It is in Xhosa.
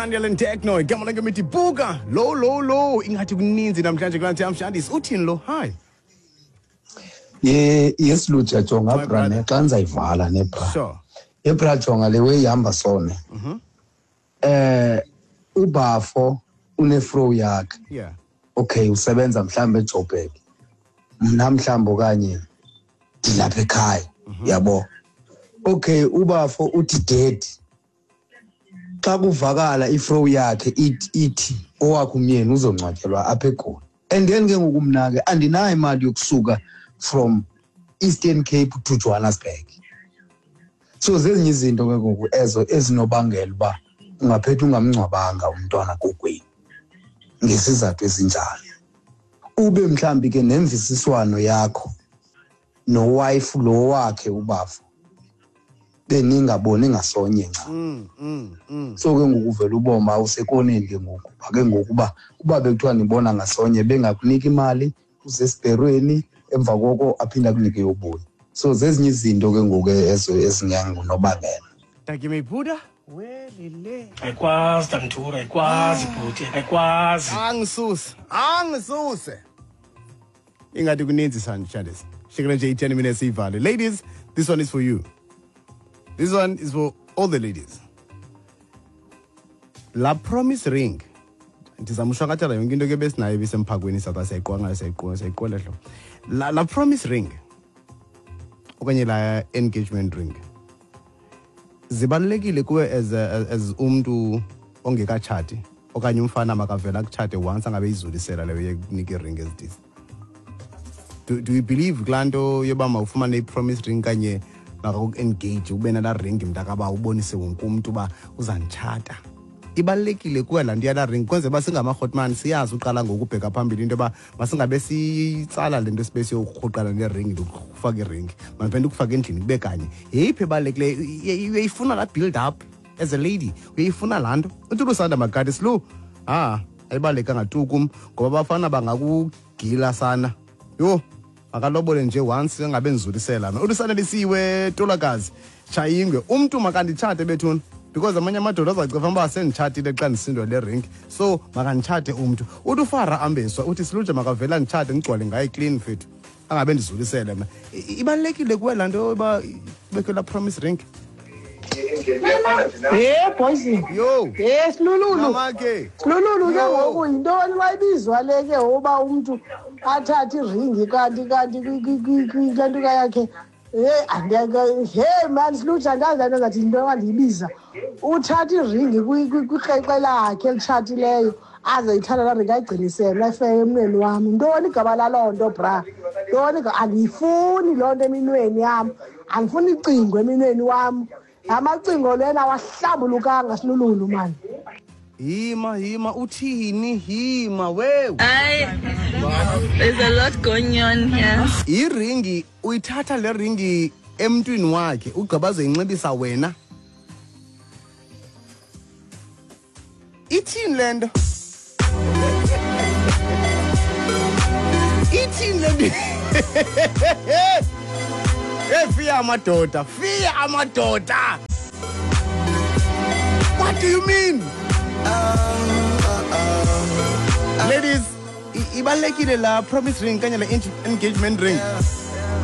Daniel and Techno, igama lakhe mithi buka low low low. Ingathi kuninzi namhlanje kulaa nto Shandis. Uthini lo? Hi. Ye, yes Luja, jonga My bra brother. ne xa ndizayivala ne bra. Sure. Ye bra, jonga le way ihamba sone. Ubafo unefro yakhe. Okay, usebenza mhlambe eJoburg. Mna mhlambe okanye ndilapha ekhaya, yabo. Okay, ubafo uthi dead. Xa kuvakala ifro yakhe ithi owakhe umyeni uzongcwatyelwa apha eGoli. And then ke ngoku mna ke andinayo imali yokusuka from Eastern Cape to Johannesburg. So zezinye izinto ke ngoku ezo ezinobangela uba ungaphetha ungamngcwabanga umntwana kokwenu ngesizathu esinjalo. Ube mhlambi ke nemvisiswano yakho nowife lo wakhe ubafo beningaboni ngasonye nca. So ke ngoku uvela uboma usekoneni ke ngoku. Ke ngoku uba bekuthiwa nibona ngasonye bengakuniki imali usesibherweni emva koko aphinda akunike yobuya. So zezinye izinto ke ngoku ezo ezingangunobangela. Thank you, Buddha. Welile. Ayikwazi Tantura, ayikwazi bhuti, ayikwazi. Angisuse. Ingathi kuninzi Shandis. Shikela nje i-10 minutes ivale. Ladies, this one is for you. This one is for all the ladies. La promise ring. Ndizama ushwakatela yonke into ke besinayo ibisemphakweni sathi siyayiqwa ngayo, siyayiqwa hlobo. La promise ring okanye la engagement ring zibalulekile kuwe as umntu ongekatshati okanye umfana makavela akutshate once angabe izulisela leyo yekunika iring ezidisi. Do you believe kulaa nto yoba mawufumane i-promise ring kanye makaku-engage ube nalaa ring mntakaba ubonise wonke umntu uba uzanditshata? Ibalulekile kuwe laa nto yalaa ring kwenzela uba singamarhotman siyazi uqala ngokubheka phambili into yoba masingabe siyitsala le nto sibe siyokurhuqana nering, ndikufaka iring mandiphinde ukufaka endlini kube kanye. Yeyiphi ebalulekileyo? Uyayifuna laa build up as a lady, uyayifuna laa nto. Uthi uLusanda Makati silu, ayibalulekanga tu kum ngoba abafana bangakugila sana. Yho, makalobole nje once angabe ndizulisela mna. ULusanelisiwe Tolakazi Tshayingwe, umntu makanditshate bethuna because amanye amadoda azacifa uba senditshatile xa ndisindwa le ring, so makanditshate umntu. Uthi uFara Ambeswa uthi siluje makavela nditshate ndigcwale ngaye clean fethu angabe ndizulisele mna. Ibalulekile kuwe laa nto uba kubekho laa promise ring? Hey boys. Yo. Hey Silululu. Mama ke. Silululu ke Yo. ngoku yintoni wayibizwa le ke ngoba umntu athathe iringi kanti kule nto yakhe. Hey, andiyake. Hey man, Silululu andazi le nto ngathi yinto andiyibiza. Uthatha iringi kwikreqe lakhe elitshatileyo aze ithatha laa ringi ayigcinise mna ayifeke emnweni wam. Yintoni igama laloo nto bra? Yintoni andiyifuni loo nto eminweni yam. Andifuni icingo eminweni wam. Amacingo lena awahlambulukanga Silululu man. Hima, uthini? Hima, wewe. Ay, there's a lot going on here. Iringi, uyithatha le ringi emntwini wakhe, ugqiba azoyinxibisa wena. Ithini le nto? Ithini le nto? Hey, fiya amadoda, fiya amadoda. What do you mean? Ladies, ibalulekile la promise ring kanye la engagement ring.